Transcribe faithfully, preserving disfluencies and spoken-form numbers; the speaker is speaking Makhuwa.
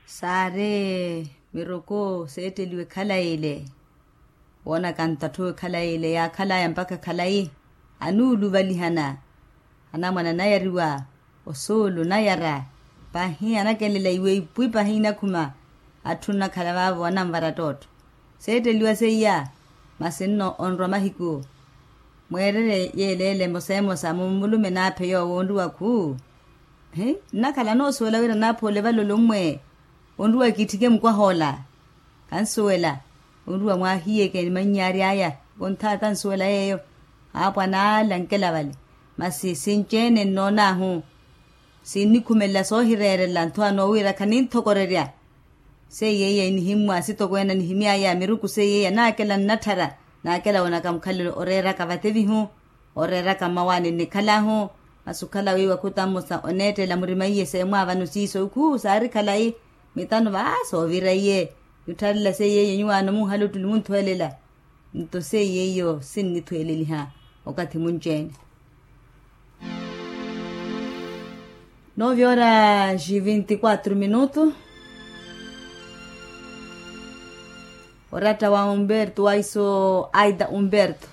Saari miruku seetteliwe khalayi ile. Woonaka ntathowe khalayi ile yaakhalaya mpakha khalayi anuuluvalihana. Anamwane anayariwa osuulu nayara pahi anakelela iwe ipwi pahi inakhuma. Atthu nnakhala vaavo ananvara ttootto seetteliwa seiya. Masi nno onrwa mahiku mweererye yeeleele emosa emosa mumulume naaphe yoowo onruwa khu. Hi nnakhala noosuwela wira naaphoole vale olommwe onruwa kiitthike mukwaha ola. Kansuwela onruwa mwaahiyeke ni mannyaari aya. Konthaata nsuwela yeeyo aapwa naala nkela vale. Masi sinci-ene nnoon'ahu sinnikhumelela soohireerela ntho anoowira khaninthokorerya. Seiyeiya inihimmwa sitokweene anihimy'aya miruku seiyeiya naakela nnatthara. Naakela woonaka mukhalelo oreeraka vatevihu oreeraka mmawaani nnikhal'ahu. Masi okhala wiiwa khutammusa oneettela murima iye seemwaavano siiso ikhuu saari khalayi. Mitano va soovira iye yuttharela seiyeiya nyuwaano munhale ottuli munthweelela. Nto seiyeiyo sinnithweeleliha okathi munci-ene. Nove horas e vinte e quatro minutos. Oratta wa umberto waiso aida umberto.